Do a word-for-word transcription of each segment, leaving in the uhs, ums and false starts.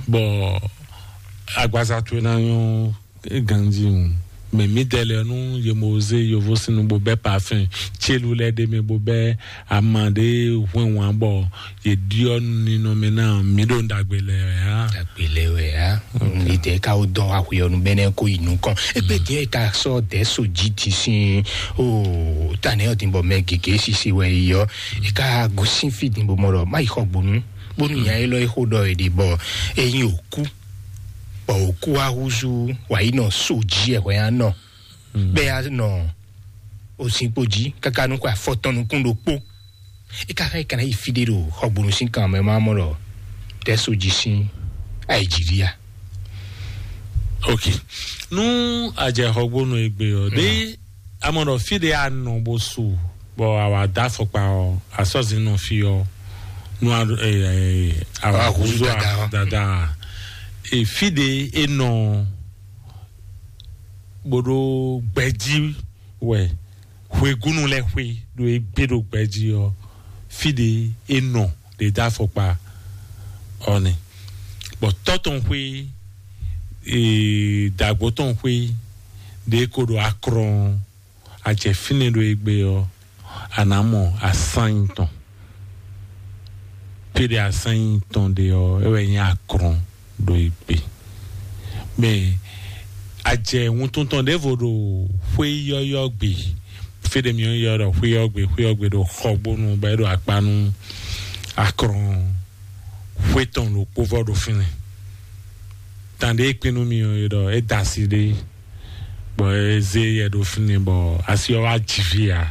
Bɔ agbaza towe ná nyɔ́ ganjí o. Mɛ mǐdɛɛ lɛ́ɛ nú yě mɔ zé yovo sín nu bó bɛ́ parfɛn célu lɛ́ɛ ɖ'é mɛ bó bɛ́ ama ɖé hwɛ́nwǎn bɔ yě ɖyɔ́ ninɔmɛ ná mǐ ɖo ɖagbe lɛ wɛ á. Ɖagbe lɛ wɛ á. Lidɛ ka wo dɔn wa hwe ɔnu bɛnɛ ko yi nukɔn. Egbe diɛ ka sɔ dɛ so ji ti sin o tanɛ ɔ din bɔ mɛ gege sisi wɛ yi ɔ. E ka gosin fi din bɔ mɔ ɖɔ ma yi xɔ gbonu bonu nya élɔ́ e xo ɖɔ e ɖi bɔ e nyi òkú bɔ òkú wa húzú wa yi nɔ so ji ɛ hwɛ ya nɔ bɛ ya nɔ ozinkpo ji kaka nukun afɔtɔn nukun ɖokpo. E ka xá e kana yi fi ɖe ɖo xɔgbonu sín kan mɛ ma mɔ ɖɔ tɛ́ so ji sín ayi ji ɖi ya. Ok. Nú a jɛ xɔgbonu egbe ɔ ɖe a mɔ ɖɔ fi ɖe a nɔ bó su bɔ a wà dá afɔkpa ɔ asɔzi nɔ fi ɔ nú a ɛ ɛ a wà Wà húzú húzú dada ɔ. Dada ɔ. E fi ɖe e nɔ bó ɖó gbɛjí wɛ hwegúnu lɛ́ɛ xwé ɖo e gbé ɖo gbɛjí ɔ fi ɖe e nɔ ɖe dó afɔkpa ɔ nɛ bɔ tɔ́ tɔn xwé ee dǎgbó tɔn xwé ɖe ko ɖo akrɔn ajɛ fínɛ́ ɖo e gbé ɔ a nǎ mɔ asányi tɔn. Pe ɖe asányi tɔn ɖe ɔ é wɛ nyí akrɔn ɖo yi gbe. Mɛ ajɛ wuntun tɔn ɖěvo ɖo xwé yɔ́yɔ́ gbe. Fé ɖe mi yɔ́ ɖɔ xwé yɔ́ gbe xwé yɔ́ gbe ɖo xɔgbónu bɔ é ɖo akpa nú akrɔn xwé tɔn ɖo kpóvɔ ɖo fínɛ́. Tàn ɖe é kpé nú mi ɔ́ é ɖɔ é da asi ɖé bɔ é zé yɛ ɖo fínɛ́ bɔ asi ɔ́ wá jǐ fí ǎ.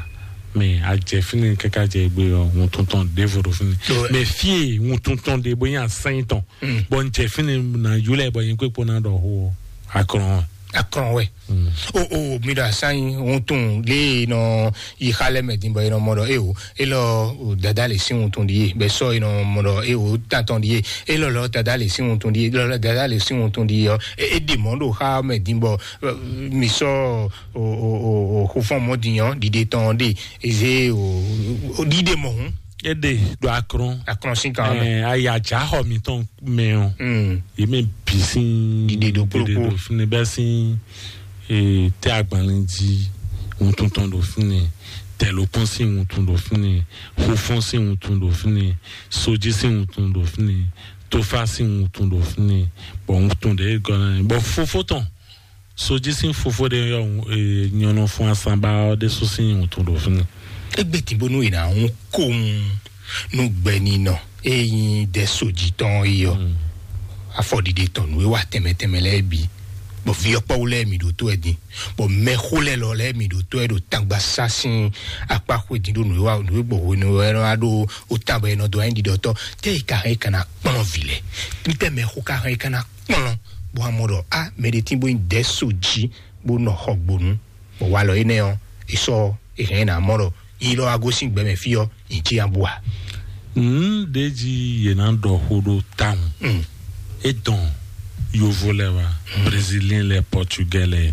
Mɛ a jɛ fínɛ́ káká jɛ gbé ɔ́ wuntun tɔn ɖěvo ɖo fínɛ́. Mɛ fí e wuntun tɔn ɖe bó nyí asányi tɔn bɔ n jɛ fínɛ́ ná yúlẹ̀ bɔ nyí kpékpó ná ɖɔ xó ɔ́ akrɔn ɔ́. Akrɔn wɛ. O o mi ɖo asányi wuntun lé e nɔ yi xa lɛ mɛ din bɔ e nɔ mɔ ɖɔ e o e lɔ o dada le sin wuntun ɖi ye bɛ sɔ e nɔ mɔ ɖɔ e o tantɔn ɖi ye e lɔ lɔ dada le sin wuntun ɖi ye lɔ lɔ dada le sin wuntun ɖi ye ɔ e e ɖi mɔ ɖo xa mɛ din bɔ mi sɔ o o o o xofɔn mɔ din ɔ ɖiɖe tɔn ɖe eze o o ɖiɖe mɔ hun. E ɖe ɖo akrɔn. Akrɔn sin kan mɛ. Ɛ ayi adza xɔ mitɔn mɛ ɔ. Mm. Yě mɛ bǐ sín Ɖiɖe ɖo kplɔ́kpó. Ɖiɖe ɖo fínɛ́ bɛ́ sín ee tɛ agbanlin jí wuntun tɔn ɖo fínɛ́, tɛlókun sín wuntun ɖo fínɛ́, xofɔn sín wuntun ɖo fínɛ́, sojí sín wuntun ɖo fínɛ́, tófá sín wuntun ɖo fínɛ́, bɔ wuntun ɖě gɔ́ ná bɔ fofó tɔn sojí sín fofó ɖé yɔ ee nyɔnɔ fún asanba ɔ́ ɖésú sín wuntun ɖo fínɛ́. Egbe tìbónú yìí ná hún kóhun nú gbɛninɔ e nyí dɛ sojí tɔn é yɔ. Afɔɖiɖe tɔn nǔ e wa tɛnmɛ tɛnmɛ lɛ́ɛ bǐ bɔ viyɔkpɔ́wú lɛ́ɛ mi ɖo tó ɛ din bɔ mɛxó lɛ́ɛ lɔ lɛ́ɛ mi ɖo tó ɛ ɖo tangba sá sín akpá xwedin ɖo nǔ e wa nǔ e gbɔ hwenu e wɛ nɔ wá ɖo o tán bɔ è nɔ dó anyi ɖiɖɔtɔ́ tɛ yi ka hɛn yi ka ná kplɔ́n vǐ lɛ́ɛ. Ntɛ mɛxó ka hɛn yi ka ná kplɔ́n bó wá mɔ ɖɔ a mɛ ɖé tín bó nyí dɛ̌ so jí bó nɔ xɔ gbonu bɔ walɔ énɛ́ ɔ́ è sɔ́ è hɛn ná mɔ ɖɔ yi lɔ wá gosín gbɛmɛ fí ɔ́ nyi jí abú a. Nǔ ɖé jí yě ná ɖɔ xó ɖó tawun. Mm. É dɔn yovo lɛ wa, brésilien lɛ, portugais lɛ,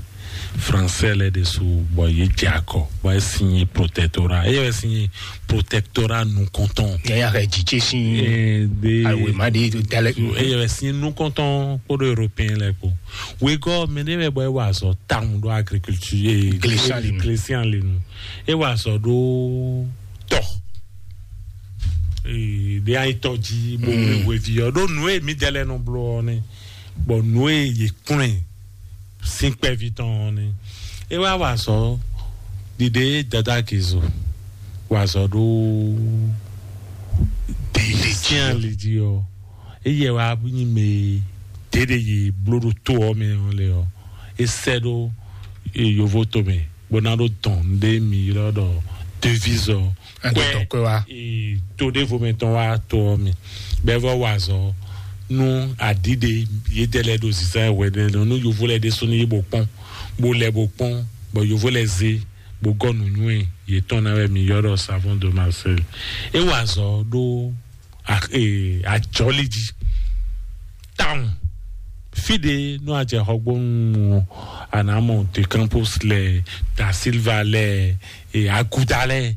français lɛ ɖésú bɔ yě jɛ akɔ bɔ é signé protectorat. É yɛ wɛ signé protectorat nukɔntɔn. Yaya hɛ jijé sin Eh, de awe ma de dalẹ. É yɛ wɛ signé nukɔntɔn kpódó européen lɛ kpó. Wegɔ mɛ ɖé wɛ bɔ é wa azɔ tawun ɖó agriculture eh, Glésian lenu. Glésian lenu. É wa azɔ ɖó tɔ. Ee ɖe ayi tɔ jí bó wé hweví ɔ ɖó nǔ e mǐdɛɛ lɛ nɔ bló ɔ nɛ bɔ nǔ e yě kplɔ́n ɛ sín kpɛví tɔn ɔ nɛ. É wá wa azɔ ɖiɖe dada kizu wa azɔ ɖó ɖiɖe tian li jí ɔ eye wa nyi mɛ ɖeɖe yi bló ɖo tó ɔ mɛ ɔ lɛ ɔ é sɛ ɖó yovo to mɛ bó ná ɖó dɔn ɖé mi ylɔ ɖɔ devise ɔ Ado tɔn kɔe wá. Ee, to ɖevo mɛ tɔn wá to ɔ mi bɛvɔ wa azɔ nu aɖiɖe yedɛ lɛ ɖo zizan wɛ ɖe lɔ nu yovo lɛ ɖe sunu yi bo kpɔn bo lɛ bo kpɔn bɔ yovo lɛ ze bo gɔ nu nyuɛ yetɔn na wɛ mi yɔ ɖɔ savon de Marseille e wa azɔ ɖo a- ee, ajɔli jí tawun fi ɖe nú ajɛ xɔgbónu anamɔ de Campos lɛ da Silva lɛ e aguda lɛ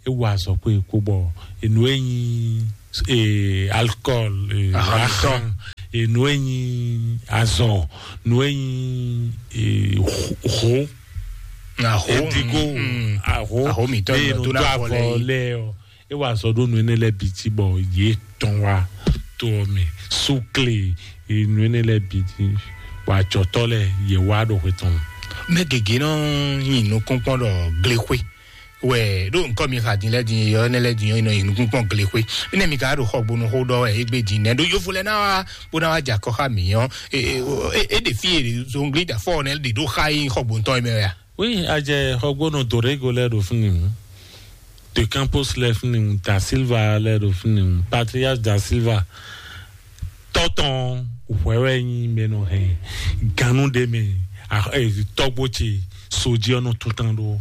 e wa azɔ kpó e kpó bɔ enu e nyi e alcohol e Ahan. Ahan e nǔ e nyí azɔ, nǔ e nyí e, ho, ho, Aho, edigo, mm, mm. Aho, Aho mǐtɔn eye nɔ nɔ dó dó ná avɔ avɔ lɛ yi. Lɛ ɔ, e wa azɔ ɖó nǔ énɛ́ lɛ́ɛ bǐ jí bɔ yě tɔn wá to ɔ́ mɛ, súkle, e nǔ énɛ́ lɛ́ɛ bǐ jí, bɔ ajɔtɔ́ lɛ́ɛ yě wá ɖo hwe tɔn. Mɛ gěgé nɔ nyi nukúnkpɔ́n ɖɔ glexwé wɛ ɖó nukɔn mi xa din lɛ́ɛ din yɔ énɛ́ lɛ́ɛ din yɔ nɔ nyi nukúnkpɔ́n glexwé. Énɛ́ mi ka ɖo xɔgbónu xó ɖɔ wɛ égbé din nɛ́ ɖó yovo lɛ́ɛ ná wá bó ná wá jɛ akɔ xá mǐ ɔ́, é ɖe fí e zongli da fɔ nɛ ɖe ɖó xa yi xɔgbóntɔn yi mɛ wɛ a? Oui, a jɛ xɔgbónu Dorego lɛ́ɛ ɖo fínni hǔn. De Campos lɛ́ɛ fínni hǔn, Da Silva lɛ́ɛ ɖo fínni hǔn, Patrias Da Silva. Tɔ́ tɔn hwɛ wɛ nyí mɛ nɔ hɛn gannú ɖé mɛ, a- eh, tɔ́gbó ce sojí ɔ́ nɔ tún tán ɖó.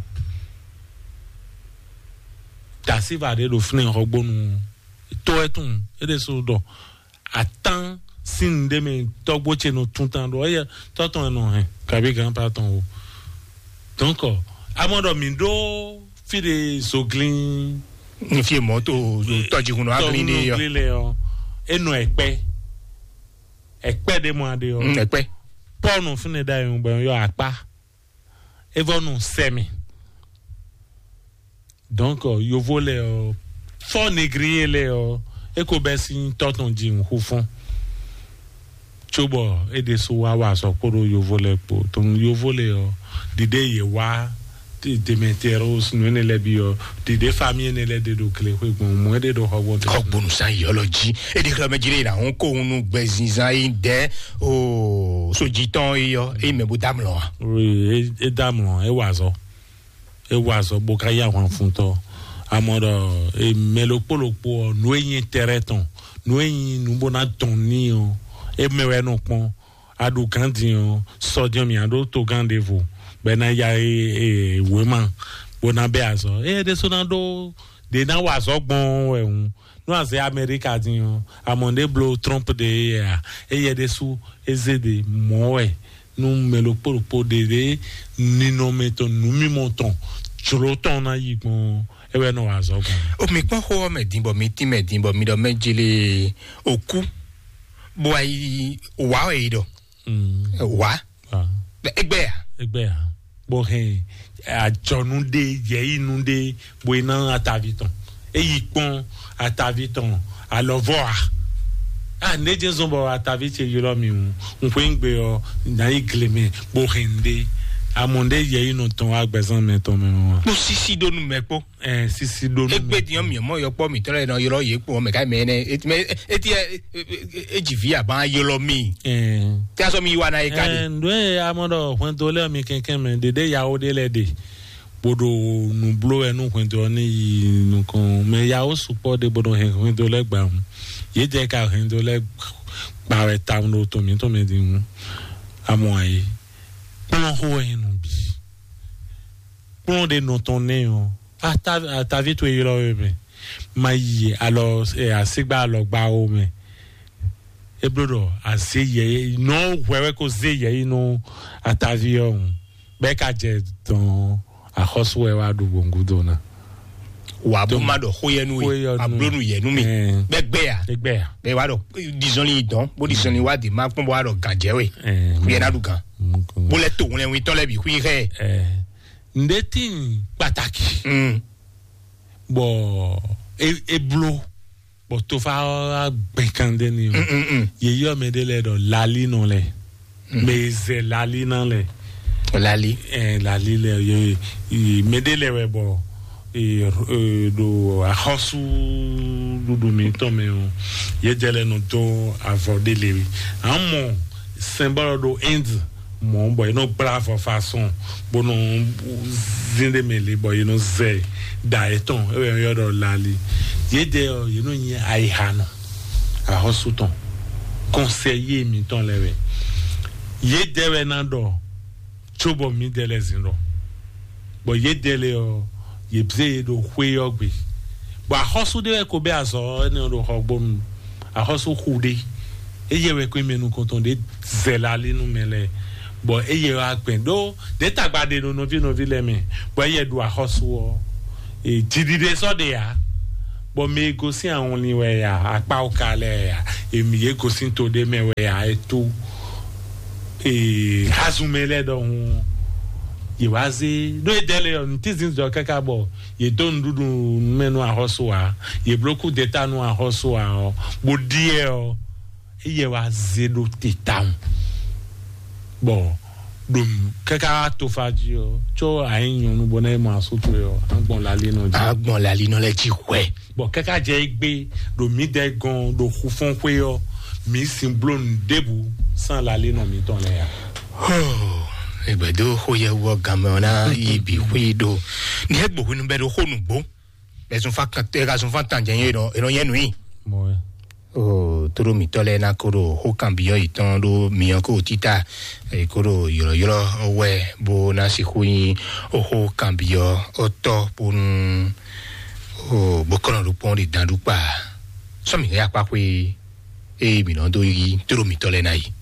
Da Silva ɖé ɖo fínni xɔgbónu tó ɛ tún é ɖésú ɖɔ atán sín nǔɖé mɛ tɔ́gbó ce nɔ tún tán ɖó ɔ́, tɔ́ tɔn e nɔ hɛn kabi gánpa tɔn o. Donc amɔ ɖɔ mǐ ɖó fí ɖe zoglín Ní fi mɔ̌ to tɔjíhun nɔ aglín ní yɔ. Tɔjíhun lɛ ɔ, e nɔ ɛkpɛ, ɛkpɛ ɖe mɔ aɖe ɔ. Mm, ɛkpɛ. Pɔ́ nɔ fúnɛ ɖa yɔn gbɛ yɔ akpá, e vɔ nɔ sɛmɛ. Donc yovo lɛ ɔ, fɔ négrier lɛ ɔ, e ko bɛ sin tɔtɔn ji nxu fɔn. Cóbɔ é ɖésú wá wa azɔ̌ kpódó yovo lɛ kpó. Donc yovo lɛ ɔ, ɖiɖe yě wá Demetrius nǔ énɛ́ lɛ́ɛ bǐ ɔ, ɖiɖe famille énɛ́ lɛ́ɛ ɖe ɖo glexwé gbɔn, mɔ̌ é ɖe ɖo xɔgbɔn tɔn. Xɔgbónu sán yɔlɔ jí, é ɖi xlɔmɛ jí ɖe na hún kó hún nú gbɛzinzán yi dɛ o sojitɔn yi yɔ, é mɛ bó dá mlɔ wa. Oui, é dá mlɔ, é wa azɔ̌, é wa azɔ̌ bó ká yá hwan fun tɔ. Amɔ ɖɔ mɛ ɖokpó ɖokpó ɔ, nǔ e nyí tɛrɛ tɔn, nǔ e nyí nǔ bó ná tɔn ní ɔ, é mɛ wɛ nɔ kpɔn. A ɖu gǎn din ɔ, sɔ din ɔ mǐ ná ɖó togán ɖěvo bɔ é ná ya wěma bó ná bɛ́ azɔ̌. Ée é ɖésú ná ɖó ɖě ná wa azɔ̌ gbɔn wɛ hǔn, nú a zě Amɛríka din ɔ, amɔ ɖě bló Trump ɖe é a, éyɛ ɖésú é zé ɖě mɔ̌ wɛ nú mɛ ɖokpó ɖokpó ɖě ɖě ninɔmɛ tɔn nǔmimɔ tɔn jlǒ tɔn ná yi gbɔn é wɛ nɔ wa azɔ̌ gbɔn. O mi kpɔ́n xó ɔ́ mɛ din bɔ mi tín mɛ din bɔ mi ɖɔ mɛ jele òkú bó wá yi wá wɛ yi ɖɔ wá. Egbé ya? Egbé ya? Bó hɛn àjɔnú ɖé, yɛyínu ɖé, bó yi ná atavi tɔn. Eyi kpɔn atavi tɔn alɔvɔ a? A ne jɛ zɔn bɔ atavi ce ylɔ mi ŋu, ŋkwe ŋgbe ɔ, na yi gle mɛ bó hɛn ɖé. Amɔ ɖé yɛyínu tɔn wá gbɛzán mɛ tɔn mɛ wa? Kpó sisi ɖó nu mɛ kpó. Ɛ sisi ɖó nu. Egbe diɔ mi mɔ yɔkpɔ mi tɔlɛ nɔ ylɔ yě kpɔn mɛ ka mɛ nɛ eti mɛ eti ɛ eti vi aban ylɔ mi. Ɛ tí a sɔ mi wa na yi ka de. Ɛ ndo ye amɔ ɖɔ hwɛndo lɛ mi kɛnkɛn mɛ ɖeɖe yawo ɖe lɛ ɖe, boɖo nu blo wɛ nu hwɛndo ɔ ne yi nukɔn mɛ yawo sukpɔ ɖe boɖo hɛn hwɛndo lɛ gba ŋu. Yě jɛ ka hwɛndo lɛ gba wɛ ta ɖo tɔn mi tɔn mɛ di ŋu. Amɔ ayi kplɔn xo wɛ nu bi. Kplɔn ɖe nɔ tɔn nɛ ɔ, atavi towe ylɔ we mɛ, ma yi alɔ asigba alɔgba wo mɛ. E bló ɖɔ azé yɛ nɔ hwɛ wɛ ko zé yɛ yi nɔ atavi ɔ ŋu, bɛ ka jɛ dɔn axɔsu wɛ wa ɖu gbɔngudo na. Wà bó má ɖɔ xó yɛ nú we, ablónú yɛ nú mi. Bɛ gbɛ ya? Bɛ gbɛ ya? Bɛ wa ɖɔ dizɔnni dɔn bó dizɔnni wa di ma kpɔn bó wa ɖɔ gànjɛ we. Xú yɛ ná ɖu gàn. Bó lɛ to ŋlɛ witɔ lɛ bi xú yi xɛ. Nde tin pàtàkì. Bɔ e e blo bɔ tofa gbẹkan de ni o. Yèyí ɔmɛ de lɛ dɔ lali nɔ lɛ, mɛ zɛ lali na lɛ. Lali. Ɛ lali lɛ ye ye mɛ de lɛ wɛ bɔ ee ee do axɔsu ɖuɖu mi tɔn mɛ o, ye jɛ lɛ nɔ do avɔ de le wi. Amɔ sɛnbɔlɔ do Inde mɔ bɔ ye nɔ gbla avɔ façon bó nɔ zin ɖe mɛ le bɔ ye nɔ zɛ da etɔn ewɛ yɔ dɔ lali. Ye de ɔ ye nɔ nyi ayiha nɔ axɔsu tɔn kɔnsɛ ye mi tɔn lɛ wɛ ye de wɛ na dɔ tso bɔ mi de lɛ zin dɔ bɔ ye de le ɔ ye bze ye do xwe yɔ gbe bɔ axɔsu de wɛ ko bɛ azɔ ne do xɔ gbɔnu axɔsu xu de eye wɛ ko mɛ nukɔntɔn de zɛ la li nu mɛ lɛ bɔ eye wa gbɛn do de tagba de no nɔvi nɔvi lɛ mɛ bɔ eye do axɔsu ɔ e dziɖiɖe sɔ de ya Bɔ mɛ e gosín awɔnlin wɛ ya, akpá oka lɛ́ɛ ya, èmi yě gosín to ɖé mɛ wɛ ya, é tó ee hazunmɛ lɛ́ɛ ɖɔhun yě wá zé ɖó é dɛ́ lé ɔ́, nǔtínzin jɔ káká bɔ yě dó nǔɖuɖu mɛ nú axɔ́sú ǎ, yě bló kú deta nú axɔ́sú ǎ ɔ́, bó ɖíe ɔ́, éyɛ́ wá zé ɖó te tawun. Bɔ ɖo káká wá tofa jí ɔ́, có a nyí nyɔ̌nu bɔ ná yi mɔ asú towe ɔ́, a gbɔn lalinɔ jí. A gbɔn lalinɔ lɛ́ɛ jí hwɛ. Bɔ káká jɛ égbé ɖo mǐdɛɛ gɔn ɖo xufɔ́nxwé ɔ́, mǐ sin bló nǔ ɖěbǔ sín lalinɔ mǐtɔn lɛ́ɛ ǎ. Hoo, ìgbɛ̀dó xó yɛ wú ɔ́ ganmɛ ɔ́ ná yi bǐ xwí ɖo. Ní é gbǒ hwenu bɛ́ ɖo xó nǔgbó. Ɛ zun fán kan ɛ ka zun fán tán jɛ nyɛ e nɔ e nɔ nyɛ nǔ i. Mɔ ɛ. O tóɖó mǐtɔn lɛ́ɛ ná kó ɖo xó kanbyɔ́ yětɔn ɖó myɔ kó títá, è kó ɖo ylɔ̌ylɔ́ wɛ bó ná sixú nyí xó kanbyɔ́ ɔ́ tɔ́ bónú o bó kɔn ɖo kpɔ́n ɖi dan ɖú kpa. Sɔ́ mǐ hɛn akpá xwé eye mǐ nɔ dó yí tóɖó mǐtɔn lɛ́ɛ ná yi.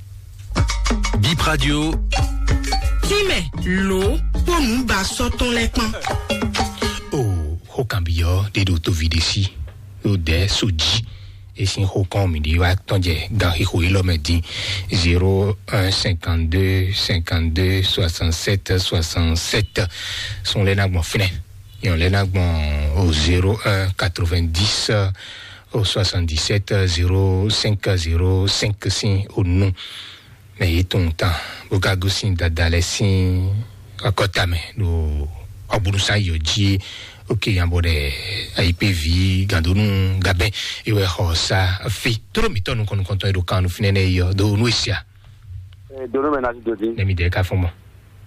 Bip Radio. Tínmɛ lǒ kpó nǔ ba sɔ́ tɔn lɛ́ɛ kpán. O xó kanbyɔ́ ɖé ɖo tóvi ɖé sí ɖo dɛ̌ so jí. E sín xó kɔn mǐ ɖi wá tɔn jɛ gan xixo élɔ́ mɛ dín. Zéro un cinquante-deux cinquante-deux soixante-sept soixante-sept. Sun lɛ́ɛ ná gbɔn fínɛ́. Yɔn lɛ́ɛ ná gbɔn o zéro un quatre-vingt-dix o soixante-dix-sept zéro cinq zéro cinq sín o nu. Mɛ yě tunwun tán bó ka gosín dada lɛ́ɛ sín akɔta mɛ ɖo ɔgbónúsá yɔ jí. Oke yan bɔ ɖɛ ayikpévi gandonu gabɛ ewɛ xɔ sa fi toro mitɔ nukɔn nukɔntɔn e ɖo kan nu finɛ nɛ yɔ do nu esia. Dono mɛ nasi dodi. Nɛmi dɛ ka fɔn mɔ.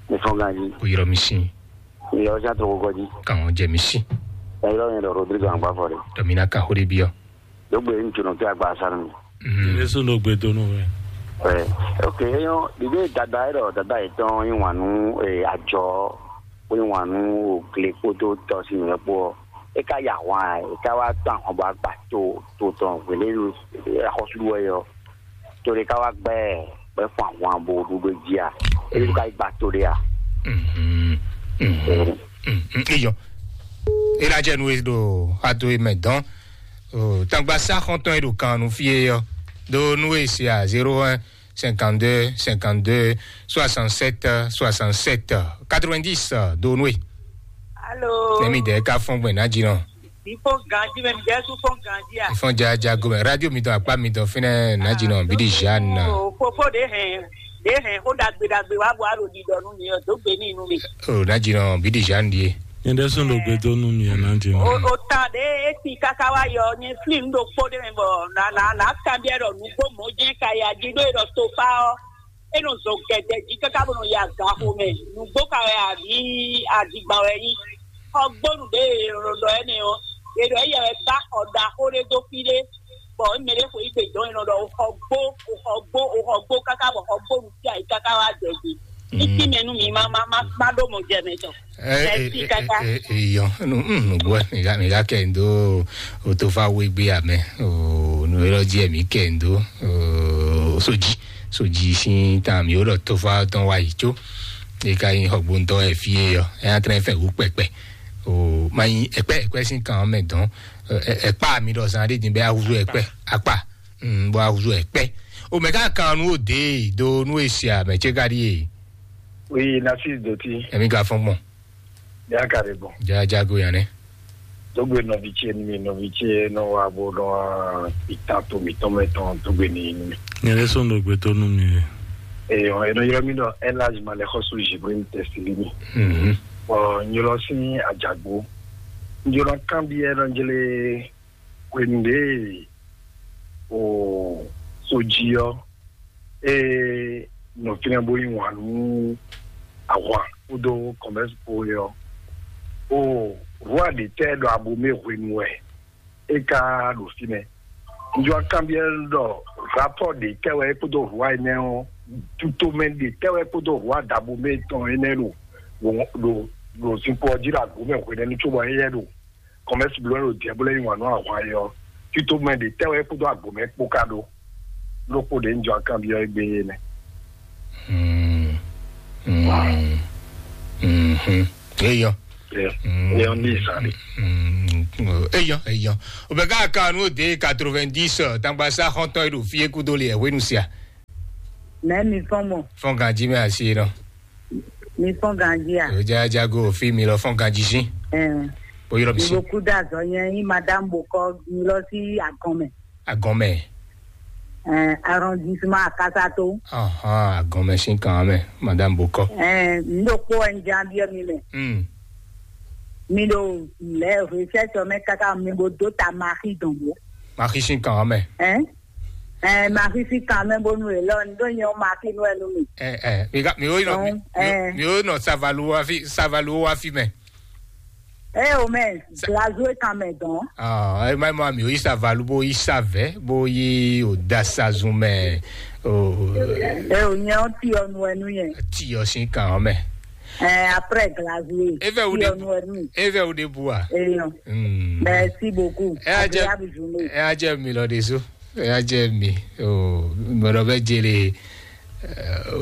Ne fɔn ganji. O yɔrɔ mi sin. Yɔrɔ sa to ko gɔji. Kan jɛ mi sin. Yɔrɔ yɛn dɔ Rodrigo Agbafɔ de. Dɔmina ka xo de biɔ. Dogbe ŋutsu nɔ kí agba sanu. Jésù ló gbé dónú rẹ̀. Ɛ, ok, eyɔn ɖiɖe dada yɛ dɔ dada yɛ tɔn yi wan nu, ɛ, ajɔ ko yi wan nu o gle kpódó tɔ si nìyɛ kpó ɔ, e ka ya hwan e ka wa tɔn ahɔn bɔ agba to to tɔn gbele axɔsu wɛ yɔ, to ɖe ka wa gbɛ gbɛ fún ahwan bo ɖuɖu dzi a, e ka yi gba to ɖe a. Mhm. Mhm. Mhm. Iyɔ. Ela jɛ nu e ɖo ado e mɛ dɔn. O tangba sa xɔntɔn e ɖo kan nu fie yɔ. Do nu e se a zéro un cinquante-deux cinquante-deux soixante-sept soixante-sept quatre-vingt-dix, do nu e. Alo. Nɛmi dɛ ka fɔn gbɛ na dzi nɔ. Ifo ganji mɛ mi jɛ su fɔn ganji a. Ifɔn ja ja gomɛ radio mi dɔn akpa mi dɔn finɛ na dzi nɔ bidi Jeanne. O fofo de hɛn de hɛn ko dagbe dagbe wa bɔ alo di dɔ nu mi o do gbe ni nu mi. O na dzi nɔ bidi Jeanne die. Nyɛ ɖe sɔn ɖo gbe dó nú mi ɛ na dzi nɔ. O o ta de eti kaka wa yɔ nyɛ fli nu ɖo kpó de mɛ bɔ na na na kanbiɛ ɖɔ nugbo mɔ jɛ ka ya dzi ɖo e ɖɔ tofa ɔ. E nɔ zɔ gɛdɛ dzi kaka bɔ nɔ ya gaxo mɛ. Nugbo ka wɛ abi adigba wɛ yi. Xɔgbonu ɖe e ɖɔ ɖɔ ɛnɛ ɔ, e ɖɔ eyɛ wɛ ba xɔ ɖaxo ɖe dó fí ɖé, bɔ mɛ ɖe xo yi gbe dɔn e nɔ ɖɔ o xɔ gbo, o xɔ gbo, o xɔ gbo kaka bɔ xɔgbonu fí ayi kaka wa jɛ gbe. Títí mɛ nú mi ma ma ma ma ɖó mɔ jɛ mɛ tɔ. Ɛ ɛ Merci, ɛ kaka. Ɛ ɛ yɔ nu mm nu gbɔ mi ka mi ka kɛ ndo o to fa wo egbe amɛ o nu yɔrɔ di ɛ mi kɛ ndo o soji soji sin ta mi o lɔ to fa tɔn wa yi tso e ka yin xɔgbɔntɔ ɛ fie yɔ ɛ atrɛ fɛ wu kpɛkpɛ o ma yin ɛkpɛ ɛkpɛ sin kan mɛ dɔn ɛ ɛkpa mi dɔ zan de din bɛ awuzu ɛkpɛ akpa mm bɔ awuzu ɛkpɛ o mɛ ka kan nu o de do nu e sia mɛ tse ka di ye. Oui, Narcisse Doti. Emi ka fɔn gbɔn. Yakare bon. Ja jago ya ne. Dogbe nɔvi ce ni mi nɔvi ce nɔ wa bo nɔ itan to mi tɔn mɛ tɔn dogbe ni ni mi. Nyɛ ɖe sɔn ɖo gbe to nú mi. Eyɔ, enɔ yɔrɔ mi nɔ elage ma le xɔsu Jibril Testilini. Mhm. Ɔ nyɔlɔ sin ajagbo. Nyɔlɔ kan bi enɔ jele hwenu ɖe o soji ɔ e nɔ fínɛ́ bó yí wǎn nú ahwan kpódó kɔmɛ́si kpó é ɔ́, o rwa ɖě tɛ́ ɖɔ abomɛ hwenu wɛ é ka ɖo fínɛ́. Njɔ kanbyɔ́ ɖɔ rapɔ́ ɖě tɛ́ wɛ é kpódó rwa énɛ́ ɔ́, tutomɛ ɖě tɛ́ wɛ é kpódó rwa ɖabomɛ tɔn énɛ́ ɖo ɖo ɖo zinkpo ɔ́ jí ɖo agomɛ hwenɛ́nu cóbɔ éyɛ́ ɖo kɔmɛsi bló ɖo diɛblɛ yi wǎn nú ahwan é ɔ́, tito mɛ ɖě tɛ́ wɛ kpódó agbǒmɛ kpó ka ɖó? Lókpó ɖě un jɔ akanbyɔ́ égbé é nɛ́. Hmm. Hmm. Hmm. Eyɔ. Eyɔ ní ìsàlẹ̀. Hmm. Eyɔn, eyɔn. O bɛ ká ka nu de quatre-vingt-dix, tangba sa xɔntɔn e ɖo fie kudo le hwenu sia. Mɛ mi fɔn mɔ. Fɔn ganji mɛ asi nɔ. Mi fɔn ganji a? O ja jago fi mi lɔ fɔn ganji si. Ɛn. Bo yɔrɔ mi si. Ibo kuda zɔ nyɛ yi madame bokɔ mi lɔ si agɔn mɛ. Agɔn mɛ. Ɛn, arrondissement Akasato. Ahan, agɔn mɛ si kan mɛ, madame bokɔ. Ɛn, n ɖo kpó ɛn jan biɛ mi mɛ. Hmm. Mi ɖo lɛ recherche mɛ kaka mi bo do ta maxi dɔn bo. Maxi si kan mɛ. Ɛn? Ɛn, maxi si kan mɛ bonu e lɔ n ɖo nyɛ maxi nu ɛnu mi. Ɛ ɛ mi ka mi wo yɔ mi Donc, mi- ɛ. Mi wo nɔ savalu wa fi savalu wa fi mɛ. Ɛ o mɛ glazo e kan mɛ dɔn. Ah, ɛ ma ma mi wo yi savalu bo yi savɛ bo yi o dasazun mɛ. O Ɛ o nyɛ o ti ɔnu ɛnu yɛ. Ti ɔ si kan mɛ. Ɛ, après glazo e. Evɛ wo Ti de ɔnu ɛnu. Evɛ wo de bu a. Eyɔn. Hmm. Merci beaucoup. Ɛ a jɛ Agréable journée. Ɛ a jɛ mi lɔ de so. Ɛ a jɛ mi. O mɔdɔ bɛ jele.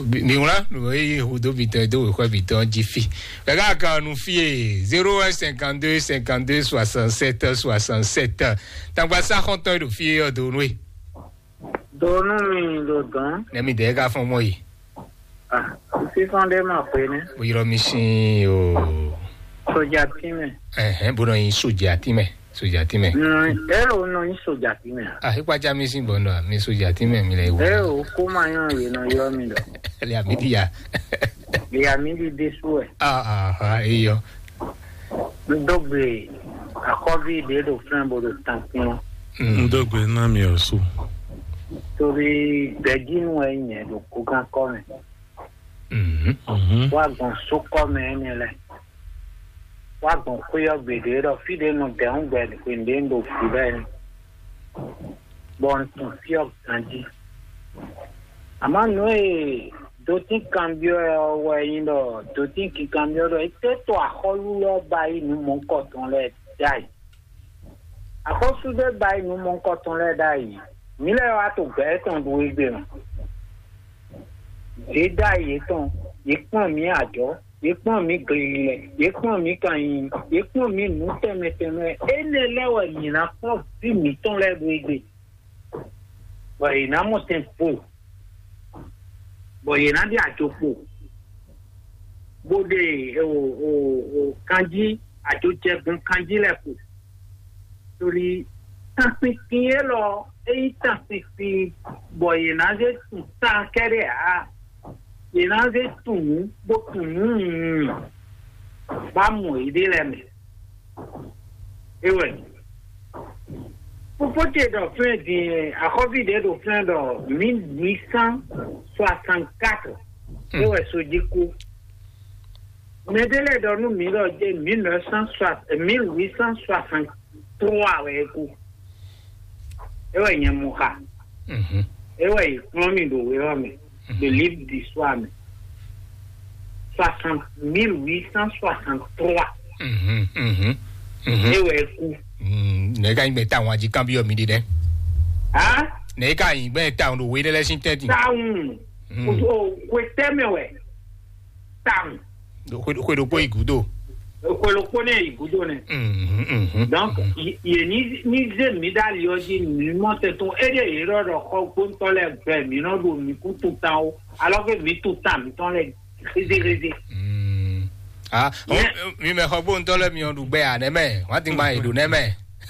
Mi wlán nǔ e yí hudó mitɔn dó wěxɔ mitɔn jí fi. Ɛ ká kan nu fie zéro un cinquante-deux cinquante-deux soixante-sept soixante-sept. Tangba sa xɔntɔn ɖo fie ɔ do nue. Donu mi ɖo dɔn. Ne mi dɛ ka fɔn mɔ yi. Ah, fífɔn ɖé ma xwe nɛ. Bo yrɔ mi sin o. Soja tínmɛ. Ɛhɛn, bo nɔ yin soja tínmɛ. Soja tínmɛ. Ero nɔ yin soja tínmɛ. Ah, ikpa ja mi sin bɔ nɔ mi soja tínmɛ mi lɛ wo. Ero kó ma yɔn yé nɔ yɔ mi dɔ. Lè àmì di ya. Lè àmì di dé sú ɛ. Ah, ah, ah, eyɔ. N dó gbe akɔvi ɖé ɖo flɛn bo ɖo tankpɔn. Mm. N dó gbe ná mi ɔ su. Torí gbɛjínú ɛ nyɛ ɖo kókan kɔ mɛ. Mhm. Mhm. Wá gbɔn sókɔ mɛ ɛnɛ lɛ. Wá gbɔn xwé ɔ gbeɖé ɖɔ fí ɖé nɔ dɛ̌n gbɛ hwenu ɖé un ɖo fí lɛ́ɛ. Bɔ un tunwun fí ɔ́ ganjí. Àmọ́ nǔ e dotín kanbyɔ́ ɛ ɔ́ wɛ nyí ɖɔ dotín kinkanbyɔ́ ɖɔ é tɛ́ to axɔ́lú lɛ́ɛ ba yí nǔ mɔ̌hunkɔtɔn lɛ́ɛ ɖ'ayǐ. Axɔ́sú ɖé ba yí nǔ mɔ̌hunkɔtɔn lɛ́ɛ ɖ'ayǐ. Mǐ lɛ́ɛ wá to gbɛ̌ tɔn ɖu égbé mɛ. Yě ɖ'ayǐ yětɔn, yě kplɔ́n mǐ ajɔ̌, yě kplɔ́n mǐ glililɛ, yě kplɔ́n mǐ kanyiyi, yě kplɔ́n mǐ nǔ tɛnmɛ tɛnmɛ. Énɛ́ lɛ́ɛ wɛ mǐ ná kplɔ́n vǐ mǐtɔn lɛ́ɛ ɖu égbé. Bɔ yě ná mɔ tɛn kpo, bɔ yě ná ɖe ajo kpo, bó ɖe o o o kanjí, ajo jɛ gbɔn kanjí lɛ́ɛ kpo. Torí tánpinpin élɔ́, é nyí tánpinpin bɔ yě ná zé tun tán kɛ́ɖɛ́ ǎ. Yě ná zé tun nǔ, bó tun nǔ nyunyun bá mɔ yěɖée lɛ́ɛ mɛ. É wɛ. Fofó ce ɖɔ flɛ́n din, axɔ́ví ɖě ɖo flɛ́n ɖɔ mille huit cent soixante-quatre. É wɛ so jí kú. Mɛ ɖé lɛ́ɛ ɖɔ nú mǐ ɖɔ jɛ mille neuf cent soixante, mille huit cent soixante-trois wɛ é kú. É wɛ nyɛ mɔ xa. Mhm. É wɛ yě kplɔ́n mì ɖo wé ɔ́ mɛ, ɖo livre d'histoire mɛ. Soixante, mille huit cent soixante-trois. Mhm, mhm, mhm. É wɛ é kú. Mm, nɛ̌ ka nyí gbɛn tawun ají kanbyɔ́ mi ɖi nɛ́? Á? Nɛ̌ ka nyí gbɛn tawun ɖo wé ɖé lɛ́ɛ sín tɛ́ntin? Tawun. Mm. O, o, xwe tɛ́ mɛ wɛ. Tawun. Xwe xwe ɖokpó yi gúdo. Xwe ɖokpó nɛ yi gúdo nɛ. Mhm, mhm, Donc, mhm. Yě ní ní zé mǐ ɖ'ali ɔ́ jí mǐ mɔ tɛn tɔn. Éɖée yě ɖɔ ɖɔ xɔ gbóntɔ́ lɛ́ɛ gbɛ mǐ nɔ ɖo mǐ kú tutan ó. Alors que mǐ tutan mǐtɔn lɛ́ɛ rézérézé. Mm. Ah, mi mɛ xɔ gbóntɔ́ lɛ́ɛ mi ɔ́ ɖu gbɛ à nɛ́ mɛ? Wọ́n ti gba yě ɖo nɛ́ mɛ.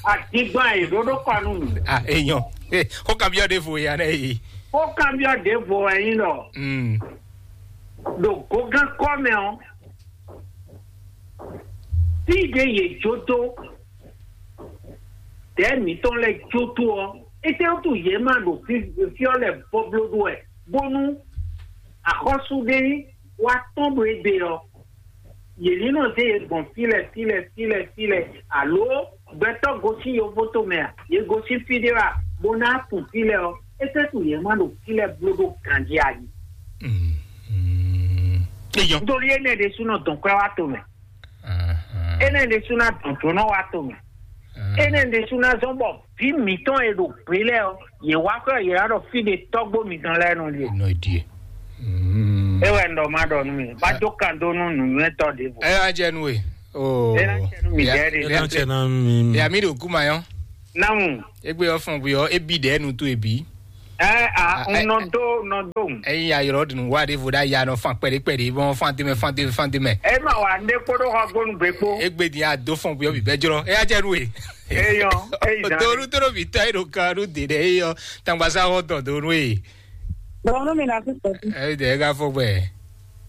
Àdìgbà yìí ɖó ɖó kɔ nù mí. Ah, èèyàn. Eh, kó kan bí ọdẹ fò ya nẹ yìí. Kó kan bí ọdẹ fò ẹyin lọ. Mm. Ɖo gǒgán kɔ́ mɛ ɔ́, fí ɖé yě jó dó, dɛ̌ mǐtɔn lɛ́ɛ jó dó ɔ́, étɛ́wútu yě má ɖo fí fí ɔ́ lɛ́ɛ bɔbló ɖó wɛ, bónú axɔ́sú ɖé wá tɔ́n ɖo égbé ɔ́, yě ní nɔ zé yě gbɔn fí lɛ́ɛ, fí lɛ́ɛ, fí lɛ́ɛ, fí lɛ́ɛ, alo gbɛtɔ́ gosín yovótomɛ a, yě gosín fí ɖé wɛ a, bó ná tunwun fí lɛ́ɛ ɔ́, é tɛ́ tunwun yě má ɖo fí lɛ́ɛ bló ɖó ganjí a jí. Mm, mm. Eyɔn. Nítorí énɛ́ ɖésúnɔ dɔn kwɛ́ wá to mɛ. Ahan. Énɛ́ ɖésú ná dɔn jǒnɔ wá to mɛ. Ahan. Énɛ́ ɖésú ná zɔ́n bɔ vǐ mǐtɔn e ɖo gbě lɛ́ɛ ɔ́, yě wá xwɛ yě wá ɖɔ fí ɖé tɔ́gbó mitɔn lɛ́ɛ nɔ ɖie. Nɔ ɖie. Mm. É wɛ un ɖɔ má ɖɔ nú mi. Bá jó kan dó nú nǔnywɛ́tɔ́ ɖěvo. Ɛ wá jɛ nú we. Oh. Ena cɛ nu mi dɛ de. Ena cɛ na mi. Ya mi ɖo kuma yɔ. Namu. Egbe yɔ fɔn gbe yɔ ebi dɛ nu to ebi. Ɛ a Ah, un eh, nɔ do nɔ do. Eyi ya yɔrɔ dunu wa de vo da ya nɔ fan kpɛɖe kpɛɖe bɔn fan tɛmɛ fan tɛmɛ fan tɛmɛ. E ma wa ne kpoɖo xɔ gbonu gbe kpo. Egbe di a do fɔn gbe yɔ bi bɛ jɔrɔ. Eya jɛ nu e. Eyɔ, eyi zan. Doru toro bi tɔ e ɖo kan ɖo de ɖe eyɔ. Tangbasa xɔ dɔ doru e. Bɔn mi na fi sɔti. Eyi de ega fɔ gbɛ.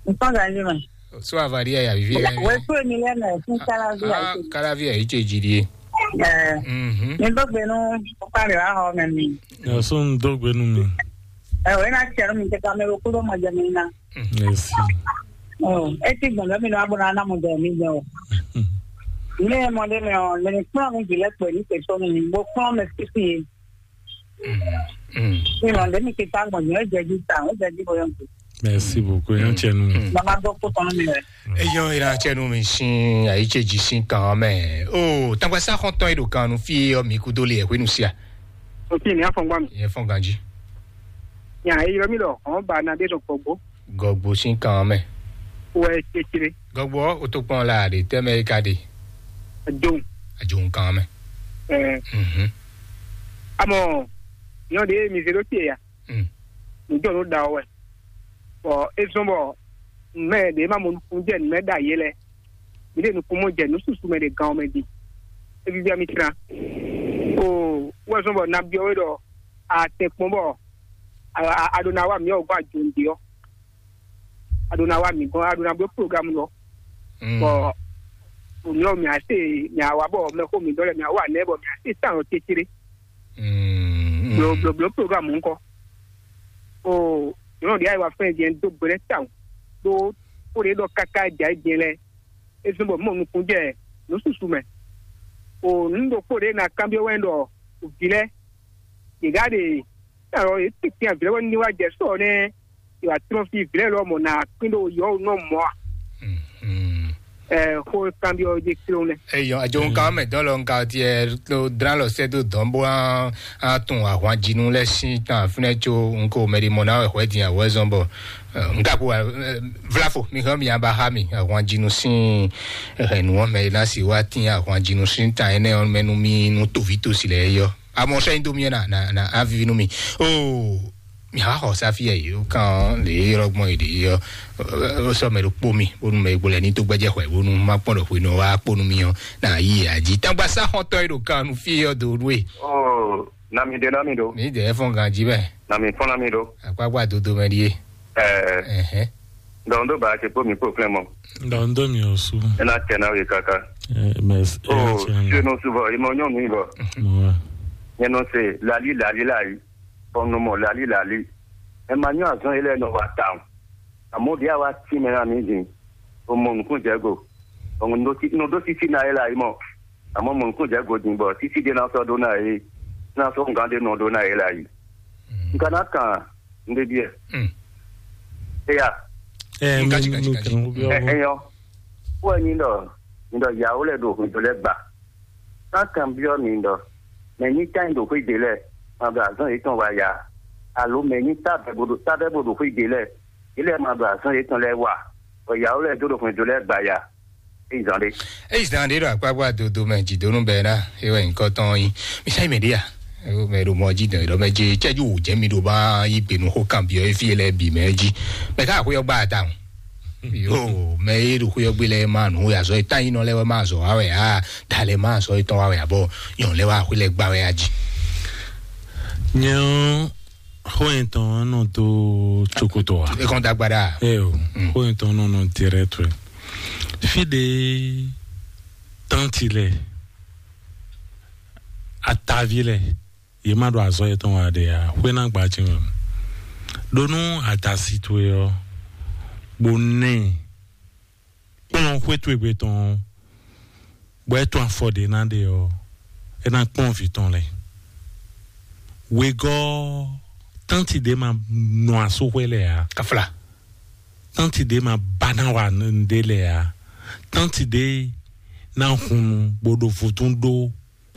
Nǹkan gàdí ma. So avali ya ya vivi ya. Wẹ́pẹ́ mi lẹ́nu ẹ̀ fún Kálábíà Ah, ṣe. Kalavi ya iche jiri. Ẹ̀ Mhm. Mi gbọ́gbẹ́ nú ọkọ rẹ̀ wá họ mẹ́ mi. Yasó ń dógbe nú mi. Ẹ̀ wẹ́ náà tiẹ̀ mi kẹta mi ro kúrò mọ̀ jẹ́ mi ná. Merci. Ọ̀ ẹ ti gbọ̀n lẹ́mi náà bọ̀ náà mọ̀ jẹ́ mi jẹ́ o. Mi ẹ̀ mọ̀ dé mi ọ̀ lẹ́ni kúrò mi jì lẹ́pẹ̀ ní tẹ̀sọ́ mi bó kúrò mi sísì yìí. Mm. Mi ọ̀ lẹ́mi kẹta gbọ̀n yẹn ó jẹ́ jí ta ó jẹ́ jí bóyá. Merci beaucoup. Yan tiẹ̀ nù. Bàbá gbọ́ kó tán mi rẹ̀. Eyɔn ira cɛ nu mi sin ayi ce ji sin kan mɛ. O tangbasa xɔntɔn yi ɖo kan nu fi yɔ mi kudo le ɛhwenu sia. O ti ni afɔngba mi. Yɛ fɔn ganji. Nya eyɔ mi lɔ ɔn ba na de sɔ gbɔgbɔ. Gɔgbo sin kan mɛ. Wɛ tsetsere. Gɔgbo o to kpɔn la de tɛmɛ yi ka de. Adon. Ajo kan mɛ. Ɛ Mhm. Amɔ yɔ de mi zero tie ya. Mm. Nǔjɔ nǔ ɖa ɔ́ wɛ. Bɔ é zɔ́n bɔ mɛ ɖě ma mɔ nukúnnú jɛ nǔ mɛ ɖo ayé lɛ́ɛ. Mi ɖe nukúnnú jɛ nǔ susu mɛ ɖe gan ɔ́ mɛ ɖi. É víví mi tlán. O wɛ zɔ́n bɔ nabyɔ́ we ɖɔ a tɛn kpɔ́n bɔ a ɖo ná wa mǐ ɔ́ gbɔn ajɔ̌nɖe ɔ́. A ɖo ná wa mǐ gɔ́n a ɖo ná bló programu lɔ. Mm. Bɔ mǐ ɔ́ mǐ á se mǐ á wa bɔ mɛxó mǐ dɔ́ lɛ mǐ á wa nɛ́ bɔ mǐ á se tán ɔ́ cécéré. Mm, mm. Bló bló bló programu ŋkɔ. O nyɔ̌nu ɖě ayǐ wa fɛn jɛn dó gbe lɛ́ tawun ɖó xó ɖě ɖɔ káká jǎ é jɛn lɛ́ɛ é zɔ́n bɔ mɔ nukún jɛ nǔ susu mɛ. O nǔ ɖokpó ɖě ná kanbyɔ́ wɛ ɖɔ vǐ lɛ́ɛ yě gá ɖe alɔ yě tɛ́ntin avǐ lɛ́ɛ wɛ ní wá jɛ sɔ nɛ́ yě wá tlɔ́n fí vǐ lɛ́ɛ lɔ mɔ ná kpín ɖo yɔ̌ nɔ mɔ a. Mm, mm. Ɛ xó kanbyɔ́ jɛ kplɔ́n lɛ. Eyɔ ajoŋkan mɛ dɔn lɔ nka tiɛ to dran lɔ sɛ do dɔn bo an atun ahwan jinu lɛ sin tan fúnɛ tso nko mɛɖi mɔ na wɛ hwɛ din awɛ zɔn bɔ nka ko vlafo mi hɛn mi aba ha mi ahwan jinu sin hɛn nu wɔn mɛ na si wa tin ahwan jinu sin tan ɛnɛ wɔn mɛ nu mi nu tovi to si lɛ yɔ amɔ sɛ nyi do mi na na na avivi nu mi o. Mǐ xɔ xɔ sáfí ɛ yǒ kan lě e ylɔ́ gbɔn è ɖě ɔ́, ó sɔ́ mɛ ɖokpó mì bónú mɛ e gbo lɛ ní dó gbɛ́jɛ́ xwɛ bónú má kpɔ́n ɖɔ hwenu ɔ́ wá kpó nú mì ɔ́, nǎ yí ɛ jí. Tágbasá xɔntɔn e ɖo kan nú fí ɔ́ dó ɖu e. Oh, nami ɖe nami ɖo. Mǐ dɛ fɔ́n ganjí mɛ. Nami fɔ́n nami ɖo. Akpákpá dodo mɛ ɖíe. Ɛɛ, Ɛhɛn. Dɔn ɖó ba ce kpó mi kpó klɛn mɔ. Dɔn ɖó mi ò sú. Ena tɛ na we kaka. Ɛ, mɛ s-, ɛ, Oh, tiɲɛ na. Senu subɔ, imɔ nyɔnu ibɔ. Mɔ wa. Nyɛ nɔ se lali lali la yi. Bɔn nɔ mɔ lali lali. Ɛ ma nyɔ azɔn yi lɛ nɔ wa tawun. Amɔ ɖi awa ti mɛ na mi din. O mɔ nukun jɛ go. Bɔn nɔ ɖo ti nɔ ɖo titi na yi la yi mɔ. Amɔ mɔ nukun jɛ go din bɔ titi de na sɔ ɖo na yi. Na sɔ ngan de nɔ ɖo na yi la yi. N ka na kan n de biɛ. Mm. Eya. Ɛ, Nka mi, tsi, nka mi tsi, nka tsi. Kan wo biɔ Ɛ, wo. Ɛyɔ. Wo nyi dɔ, nyi dɔ yawo lɛ ɖo hwɛndo lɛ gba. Kan kan biɔ mi dɔ, mɛ nyi tan ɖo xwé de lɛ, ma ɖo azɔn yetɔn wa ya. Alo mɛ nyi ta bɛ bo ɖo ta bɛ bo ɖo xwé de lɛ, yi lɛ ma ɖo azɔn yetɔn lɛ wa. Bɔ yawo lɛ do ɖo hwɛndo lɛ gba ya. Eyi zan ɖe. Eyi zan ɖe ɖo akpákpá dodo mɛ jidonu bɛ na ewɛ nyikɔ tɔn yi. Misa yi mɛ ɖe ya. Ewo mɛ ɖo mɔ ji dɔn ɖɔ mɛ je cɛju wò jɛ mi ɖo ba yi gbe nu xó kan biɔ efi lɛ bi mɛ ji. Mɛ ka xó yɔ gba ta o. Yo, mɛ e ɖo xó yɔ gbe lɛ ma nu ya zɔ eta yi nɔ lɛ wɛ ma zɔ wa wɛ a da lɛ ma zɔ etɔn wa wɛ abɔ yɔn lɛ wa xó lɛ gba wɛ a ji. Nyɛ ɔ́, xó yɛn tɔn nɔ dó tsokoto wa. E kɔn dagba ɖa. Ɛ o, Mm. Xó yɛn tɔn nɔ nɔ direct wɛ. Fi ɖe tánti lɛ, atavi lɛ, yě ma ɖo azɔ̌ yětɔn wa ɖe ǎ, xwé ná gba jí mɛ. Ɖó nú adasi towe ɔ́, bó nɛ kplɔ́n xwé towe gbe tɔn ɔ́, bɔ é tɔn afɔ ɖě ná ɖe ɔ́, é ná kplɔ́n vǐ tɔn lɛ́ɛ. Wegɔ́ tánti ɖé ma nɔ asúxwé lɛ ǎ. Kafla. Tánti ɖé ma ba ná wa nɖé lɛ ǎ. Tánti ɖé ná hun nu bó ɖo vodún ɖó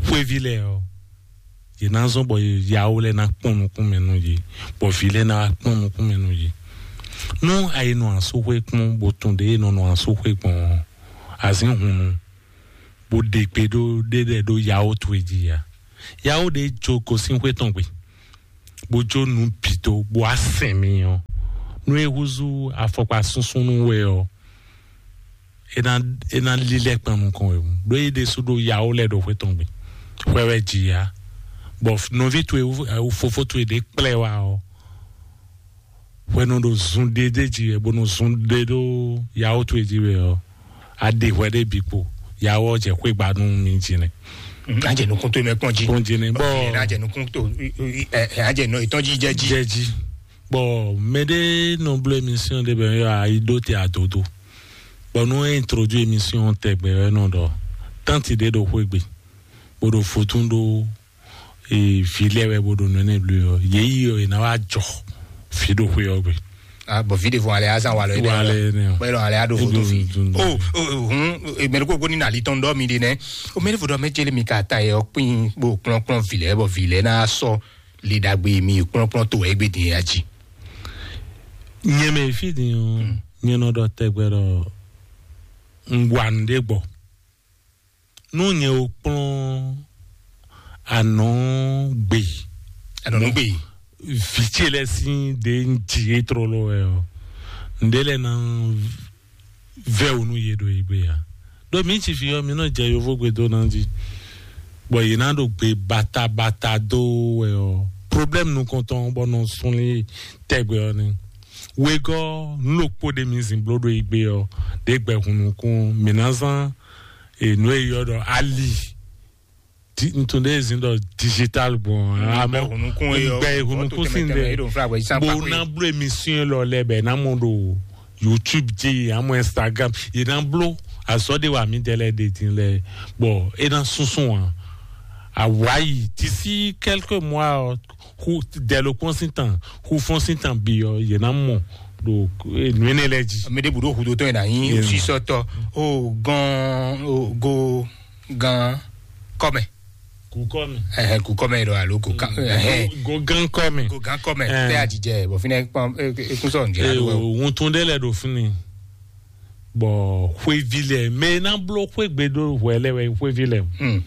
xwéví lɛ ɔ́, yě ná zɔ́n bɔ yawo lɛ́ɛ ná kpɔ́n nukún mɛ nú yě, bɔ vǐ lɛ́ɛ ná wá kpɔ́n nukún mɛ nú yě. Nú a yi nɔ asúxwé kpɔ́n, bó tunwun ɖě e nɔ nɔ asúxwé gbɔn ɔ́, azǐn hunnu, bó ɖe gbe ɖó ɖé lɛ́ɛ ɖó yawó towe jí ya. Yawó ɖé jó gosín xwé tɔn gbe, bó jó nǔ bǐ dó, bó wá sɛn mi ɔ́, nú é húzú afɔkpa súnsúnnú wɛ ɔ́, é ná é ná lílɛ́ kpan nukɔn wɛ, ɖó é ɖésú ɖó yawó lɛ́ɛ ɖo xwé tɔn gbe, xwɛ wɛ jǐ ya, bɔ nɔví towe, fofó towe ɖě kplá ɛ wá ɔ́, hwɛnu ɖo zun ɖé ɖé jí wɛ, bónú zun ɖé ɖó yawó towe jí wɛ ɔ́, a ɖe hwɛ ɖé bǐ kpo, yawó ɔ́ jɛ xwé gba nú mi jí nɛ. Á jɛ nukún tó mɛ kpɔn jí. Kpɔn jí nɛ, bɔ Á jɛ nukún tó, á jɛ nɔ ìtɔn jí jɛ jí. Jɛ jí. Bɔ mɛ ɖé nɔ bló émission ɖé bɛ yɔ ayi ɖó te adodo. Bɔ nú é introduit émission tɛgbɛ wɛ nɔ ɖɔ, tánti ɖé ɖo xwé gbe, bó ɖo fotún ɖó vǐ lɛ́ɛ wɛ bó ɖo nǔ énɛ́ bló ɔ́, yě yi ɔ́, è nǎ wá jɔ fǐ ɖo xwé ɔ́ gbe. Ah, bɔ vi ɖe fɔ alɛ azan wa lɔ yi Wa lɛ nɛ o. Bɔ elɔ alɛ ado fo to fi. Dun, dun, dun. O o hun, mɛri ko ko ni na ali tɔn dɔ mi de nɛ. O mɛri fo dɔ mɛ jeli mi ka ta yɛ ɔkpin bo kplɔn kplɔn vi lɛ bɔ vi lɛ na sɔ li dagbe mi kplɔn kplɔn to ɛgbɛ din ya ji. Nyɛ mɛ fi din o, nyɛ nɔ ɖɔ tɛgbɛ ɖɔ un wa nǔ ɖé gbɔ. Nú nyɛ o kplɔn anɔ gbe, Anɔ nu gbe. Vǐ ce lɛ́ɛ sín ɖě un ji é tlóló wɛ ɔ́, ǹɖé lɛ́ɛ ná vɛ́ wǔ nú yě ɖo yě gbe ǎ. Ɖó mǐ ci fí ɔ́, mǐ nɔ jɛ yovógbe dó ná jí, bɔ yě ná ɖo gbe batabata dó wɛ ɔ́, problème nukɔntɔn bɔ nɔ sunlin tɛgbɛ ɔ́ ni. Wegɔ́ nú ɖokpó ɖé mǐ zǐn bló ɖo yě gbe ɔ́, ɖě gbɛ hun nukún mǐ ná zán e nǔ e yɔ ɖɔ ali. Di- ntun ɖe zin ɖɔ digital gbɔn amɔ Gbɛ hunukun ye yɔ. Gbɛ hunukun sin Tɛmɛ de ɖo fla wɛ san bo pakpe. Na blo émission lɔ lɛ bɛ na mɔ ɖo YouTube dzi amɔ Instagram ye na blo azɔ de wa mi de lɛ de din lɛ bɔ e na sunsun wa awayi d'ici quelques mois ɔ hu dɛlo kpɔn sin tan hu fɔn sin tan bi ɔ ye na mɔ ɖo nuene lɛ dzi. Mi de budo hudo tɔ yina yin sisɔtɔ o gan o go gan kɔmɛ. Kukɔmi. Ɛhɛn, kukɔmɛ ɖo alo kukan ɛhɛn. Gogan kɔmi. Gogan kɔmɛ tɛ ajijɛ bɔ finɛ kpɔn ekun sɔ njɛ Ee, alo. Wuntun ɖe lɛ ɖo fini. Bɔ xwevi lɛ mɛ na blo xwegbe ɖo hwɛ lɛ wɛ xwevi lɛ. Hmm.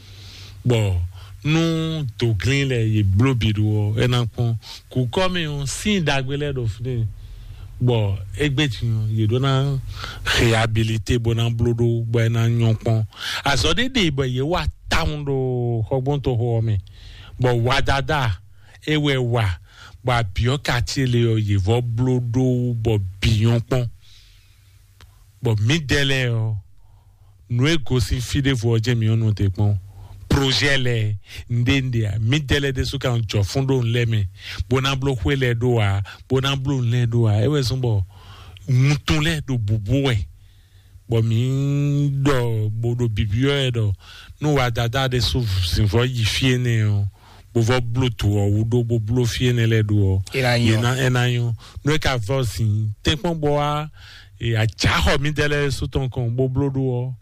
Bɔ nu doglin lɛ ye blo bi ɖo ɔ ena kpɔn kukɔmi o sin dagbe lɛ ɖo fini. Bɔ egbe ti ye ɖo na réhabilité bo na blo ɖo bɔ ena nyɔ kpɔn. Azɔ ɖe ɖe bɔ ye wa tawun ɖo xɔgbɔntɔ xɔ mɛ. Bɔ wadada e wɛ wa bɔ abiɔ kati le ɔ ye vɔ blo ɖo bɔ bi nyɔ kpɔn. Bɔ mi dɛ lɛ ɔ nu e gosin fi ɖevo ɔ jɛ mi ɔnu te kpɔn projet lɛ nde nde a mi dɛ lɛ ɖesu kan jɔ fún ɖo nlɛ mɛ bó ná bló xwé lɛ ɖó a bó ná bló nlɛ ɖó a é wɛ zɔn bɔ wuntun lɛ ɖo bubu wɛ. Bɔ mi ɖɔ bó ɖo bibiɔ yɛ ɖɔ nu wa dada ɖesu zinvɔ yi fie nɛ ɔ bó vɔ bló tu ɔ wú ɖó bó bló fie nɛ lɛ ɖó ɔ Ena nyɔ. Ena ena nyɔ nu e ka vɔ zin tɛnkpɔn bɔ wa ajaxɔ mi dɛ lɛ sotɔn kɔn bó bló ɖó ɔ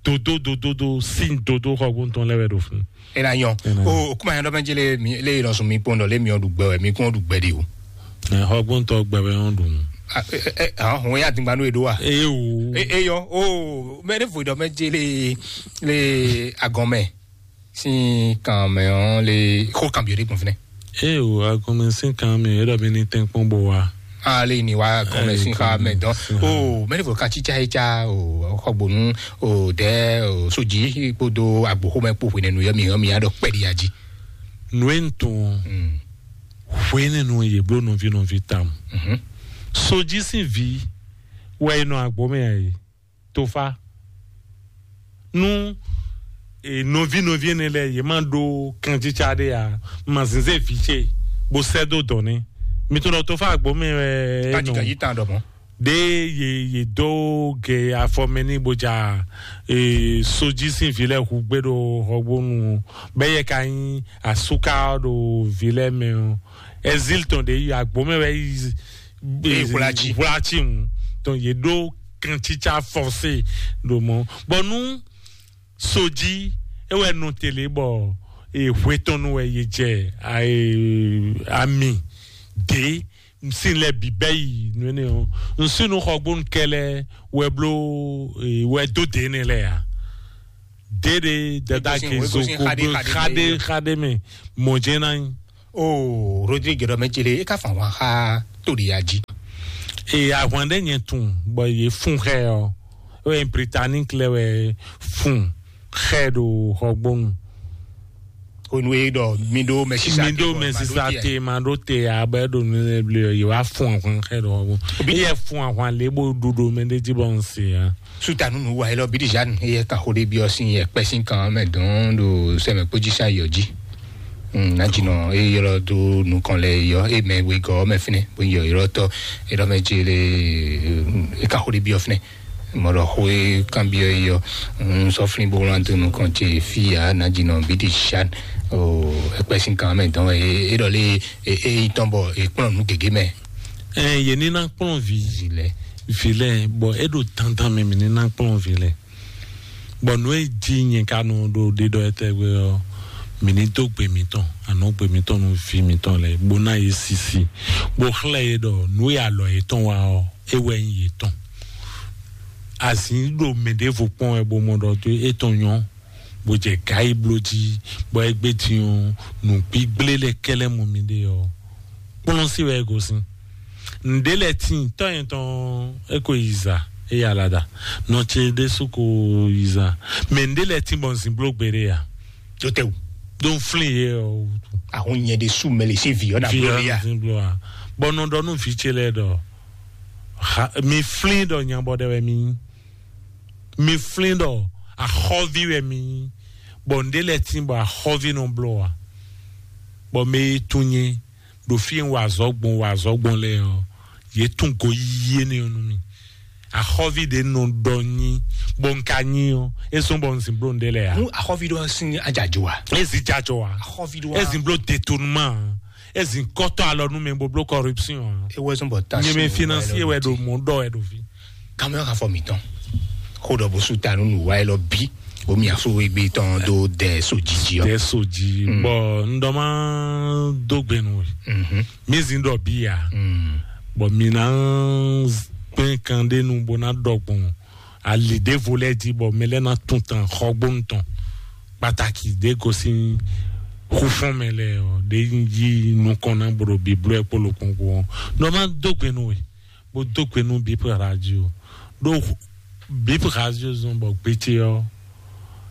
dodo dodo do sin dodo xɔgbóntɔn lɛ wɛ ɖo fún. Ena nyɔ. O kuma yɛn dɔ mɛ jele mi le yɛn sɔn mi kpɔn dɔ le mi ɔ ɖu gbɛ wɛ mi kún ɔ ɖu gbɛ de o. Xɔgbóntɔ gbɛ wɛ ɔn ɖu. Ahɔn ya dingba nu eɖo wa. Eye o. Eyɔ o mɛ ne vo dɔ mɛ jele le agɔmɛ sin kan mɛ ɔ le xɔ kan bi o de gbɔn finɛ. Eye o agɔmɛ sin kan mi e dɔ mi ni tɛnkpɔn bo wa. Ale ni wa gɔmɛ sin xa mɛ dɔn o mɛ ne vo kan tsitsa etsa o xɔgbonu o dɛ o soji kpodo agboxomɛ kpo hwenɛnu yɔ mi yɔ mi ya dɔ kpɛɖi ya ji. Nu e n tun hwenɛnu ye blo nɔvi nɔvi tam. Soji sin vi wɛ e nɔ agbomɛ ya ye. Tofa nu e nɔvi nɔvi ene lɛ ye ma ɖo kanjitsa ɖe ya ma zinze vi ce bo sɛ do dɔn ne mi to lɔ tofa agbo mi wɛ Kaji kaji tan dɔ mɔ. De ye ye do ge afɔ mɛ ni bo ja e soji sin vi lɛ hu gbe ɖo xɔgbonu bɛ yɛ ka nyi asuka ɖo vi lɛ mɛ o exil tɔn de yi agbo mɛ wɛ yi Ee, hwlatsi. Hwlatsi ŋu. Donc ye ɖo kantsitsa forcé ɖo mɔ. Bɔn nu soji ewɛ nɔ tele bɔ ee hwetɔnu wɛ ye jɛ ayi ami de sin lɛ bǐ bɛ́ yi nú énɛ́ ɔ́, un sín nú xɔgbónu kɛlɛ wɛ bló, e, wɛ dó dě énɛ́ lɛ́ɛ ǎ. Déɖé dada Wegosín, ke zo Wegosín ko xaɖé, gbé xaɖé xaɖé mɛ. Xaɖé mɛ, mɔ̌ jɛ́n ná nyí. O Rodrigue ɖɔ mɛ jele, e ka fun ahwan xá to ɖe ya jí. E ahwan ɖé nyɛ tun bɔ yě fun xɛ ɔ́, o Britannique lɛ wɛ fun xɛ ɖo xɔgbónu. Onu e ɖɔ mi ɖo mɛsisa mi ɖo mɛsisa te ma ɖo te a bɛ ɖo nu lɛ bli yɛ wa fun ahwan xɛ ɖo xɔgbónu. Eyɛ fun ahwan lɛ bo ɖuɖu mɛ ɖe jí bɔ n se ya. Suta nunu wa elɔ bidi jan eye ka xo ɖe biɔ sin yɛ kpɛ sin kan mɛ dɔn ɖo sɛmɛ kpodzi sa yɔ jí. Nadzinɔ eye yɔlɔ do nukɔn lɛ yɔ e mɛ wegɔ mɛ finɛ bo yɔ yɔlɔ tɔ e ɖɔ mɛ dzi le e ka xo ɖe biɔ finɛ. Mɔ ɖɔ xo e kan biɔ yɔ n sɔ flin bo wlan do nukɔn ce fi ya nadzinɔ bidi jan o ekpɛ sin kan mɛ dɔn e e ɖɔ le e e yi tɔn bɔ e kplɔn nu gege mɛ. Ɛ yě ní ná kplɔ́n vǐ. Vǐ lɛ. Vǐ lɛ, bɔ é ɖo dandan mɛ mǐ ní ná kplɔ́n vǐ lɛ. Bɔ nǔ e jí nyɛ ka nɔ ɖo ɖiɖɔ etɛgbe ɔ́, mǐ ní dó gbe mǐtɔn, anɔ̌gbe mǐtɔn nú vǐ mǐtɔn lɛ, bó ná yě sisi, bó xlɛ́ yě ɖɔ nǔ e alɔ yětɔn wa ɔ́, é wɛ nyí yětɔn. Azǐn ɖo mɛ ɖěvo kpɔ́n wɛ bó mɔ ɖɔ tó étɔn nyɔ́, bó jɛ gǎ yi bló jí, bɔ é gbé din ɔ́, nǔgbígblé lɛ́ kɛ́ lɛ́ mɔ mǐɖée ɔ́, kplɔ́n sí wɛ é gosín. Nǔɖé lɛ́ɛ tíin tɔ́ nyɛ tɔn é ko yi zǎ, é yi alada. Nɔ ce ɖésú ko yi zǎ. Mɛ nǔɖé lɛ́ɛ tíin bɔ un zǐn bló gbeɖé ǎ. Tó tɛ wú. Ɖó un flín yě ɔ́ wútu. Ahun nyɛ ɖésú mɛ lè sí vǐ ɔ́ nà Vǐ bló ɔ́ lé nɔ a? Zín bló ǎ. Bɔ un nɔ ɖɔ nú vǐ ce lɛ́ɛ ɖɔ, ha, mi flín ɖɔ nyabɔ ɖɛ wɛ mi nyí. Mi flín ɖɔ axɔ́ví wɛ mi nyí, bɔ nǔɖé lɛ́ɛ tíin bɔ axɔ́ví nɔ bló ǎ. Bɔ mɛ e tunwun nyɛ ɖo fí e un wa azɔ̌ gbɔn, wa azɔ̌ gbɔn lɛ́ɛ ɔ́, yě tunwun goyíyí énɛ́ ɔ́ nú mì. Axɔ́ví ɖě nɔ ɖɔ nyí, bɔ un ka nyí ɔ́, é zɔ́n bɔ un zǐn bló nǔɖé lɛ́ɛ ǎ. Nú axɔ́ví ɖɔ sín ajajo a? É zǐn jajɔ ǎ. Axɔ́ví ɖɔ É zǐn bló détournement ǎ. É zǐn kɔ́tɔ́ alɔ nú mɛ bó bló corruption ǎ. É wɛ zɔ́n bɔ ta Nyɛ mɛ sí financier wɛ ɖo mɔ̌ ɖɔ wɛ ɖo fí. Kamɛ ka fɔ mǐtɔn. Xó ɖɔ bó sú ta nú nǔwa élɔ́ bí, bó mi afó égbé tɔn dó dɛ so jiji ɔ́. Dɛ so ji. Bɔ n dɔ ma dó gbe nú we. Mi zin dɔ bi ya. Bɔ mi na gbɛn kan ɖe nu bó na dɔ gbɔn ali ɖevo lɛ ji bɔ mɛ lɛ na tun tan xɔgbónu tɔn. Pàtàkì ɖe gosín xufɔn mɛ lɛ ɔ ɖe yi nukɔn na bro biblo ɛ kpolo kpɔnkpɔn. N dɔ ma dó gbe nú we. Bó dó gbe nú Bip Radio. Ɖó Bip Radio zɔn bɔ gbété ɔ́,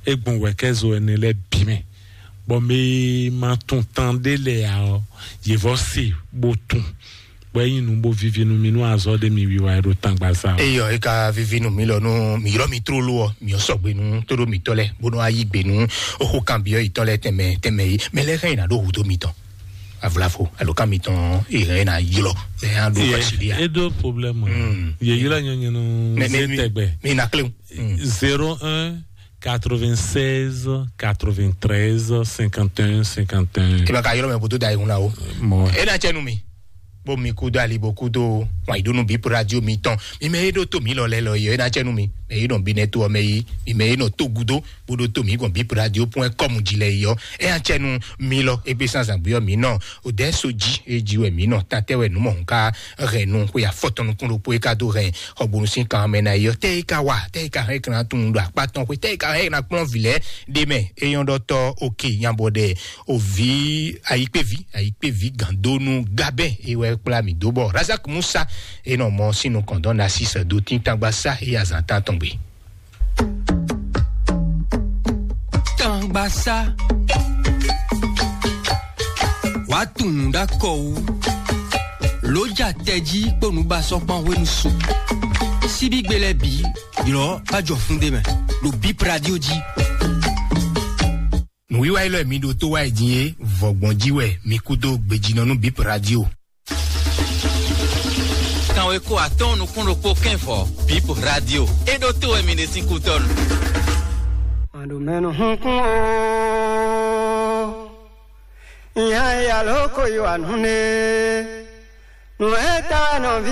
é gbɔn wɛ̌kɛ́zo ɛnɛ lɛ́ɛ bǐ mɛ, bɔ mɛ e ma tunwun tan ɖé lɛ́ɛ ǎ ɔ́, yě vɔ́ se bó tunwun, bɔ é nyí nǔ bó víví nú mì nú azɔ̌ ɖé mi wiwa e ɖo tangbaza ɔ́. Eyɔ é ka víví nú mi lɔ nú mi ylɔ́ mi tlóló ɔ́, mi ɔ́ sɔgbe nú tóɖó mǐtɔn lɛ́ɛ, bónú a yí gbe nú oxo kanbyɔ́ yětɔn lɛ́ɛ tɛnmɛ tɛnmɛ yi. Mɛ lɛ́ɛ hɛn yi ná ɖó hudó mitɔn. Avlafo alo ká mitɔn ìhɛn ná ylɔ mɛ á ɖo fasi ɖi a. Edo problème. Ye yila nyɔnyɔ no. Mɛ mɛ zé tɛgbɛ. Mi na kle. Zéro un quatre-vingt-seize quatre-vingt-treize cinquante et un cinquante et un. Eba ka yɔrɔ mɛ boto da ihun la o. Mɔ. E na cɛ nu mi. Bo mi kudo ali bo kudo wan idonu bi radio mi tɔn. Mi mɛ e ɖo to mi lɔ lɛ lɔ yɔ e na cɛ nu mi. Mɛ e nɔ bi nɛ to ɔmɛ yi. Mi mɛ e nɔ to gudo. Bó ɖó tó mǐ gbɔn bip radio point com jí lɛ yi ɔ́, é nya cɛ nú mǐ lɔ égbé sín azǎn gbé ɔ́ mǐ nɔ òdɛ́ so jí é jí wɛ mǐ nɔ tatɛ́ wɛ nǔ mɔ̌hun ká hɛn nú xwe afɔtɔn nukún ɖokpó é ká dó hɛn xɔgbonu sín kan mɛ ná yi ɔ́, tɛ́ é ká wa tɛ́ é ká hɛn é ká ná tunwun ɖo akpá tɔn xwe tɛ́ é ká hɛn é ná kplɔ́n vǐ lɛ́ɛ ɖé mɛ é nyɔ́ ɖɔ tɔ́ oke nya bɔ ɖɛ òví ayikpéví ayikpéví gǎndónú gábɛ́ é wɛ kplá mǐ dó bɔ razak musa é nɔ mɔ sín nukɔn dɔn ná sísɛ dó tíntangba sá é azǎn tán tɔn gbe. Tangbasa. Wàá tunwun ɖó akɔ wú. Lǒ ja tɛjí kpó nǔbasɔ́kpán hwenu su. Síbígbe lɛ́ɛ bǐ ylɔ́ bá jɔ fún ɖé mɛ ɖo Bip Radio jí. Nǔwiwa élɔ́ e mi ɖo tó wá yi din é, vɔ̌gbɔn jí wɛ mi kú dó gbejínɔ nú Bip Radio. Kanweko atɔ́ɔ́n nukún ɖokpó kɛ́nvɔ Bip Radio. É ɖó tó wɛ mi ɖe sín kútɔ́nu. Màɖó mɛnu hunkún o, ìyá ìyá ló kó yí wà nú ne, nù ɛ ta nɔ ví